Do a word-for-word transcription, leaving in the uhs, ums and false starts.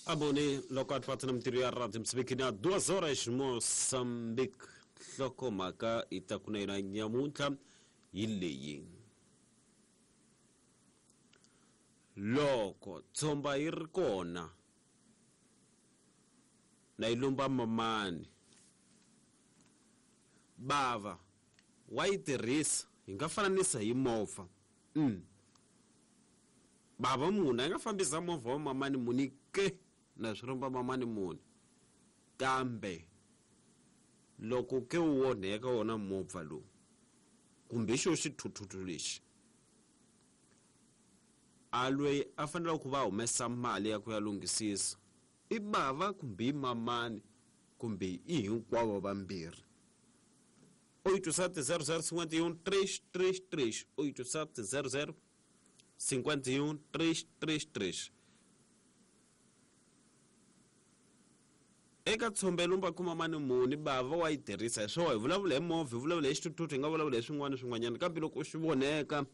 Abone loko atfatana mintirho ya Radio Moçambique na duas horas Moçambique. Nhlokomhaka yi ta ku na yona nyamuntlha hi leyi: loko tshomba yi ri kona na yi lomba mamani, bava wa yi tirhisa, hi nga fananisa hi movha. mm. Bava munhu a nga fambisa movha wa mamani muni ke na swi lomba mamani muni, kambe loko ke wu onheka wona movha lowu kumbe xo xithuthuthu lexi, a loyi a fanele ku va humesa mali ya ku ya lunghisisa i bava kumbe i mamani kumbe i hinkwavo vambirhi. Oito sete zero zero cinquenta e um três três três, oito sete zero zero cinquenta e um três três três. Eka tshombe lomba kuma mani muni, bava wa yi tirhisa hi swona. Hi vulavula hi movha, hi vulavula hi xithuthuthu, hi nga vulavula hi swin'wana swin'wanyana, kambe loko swi voneka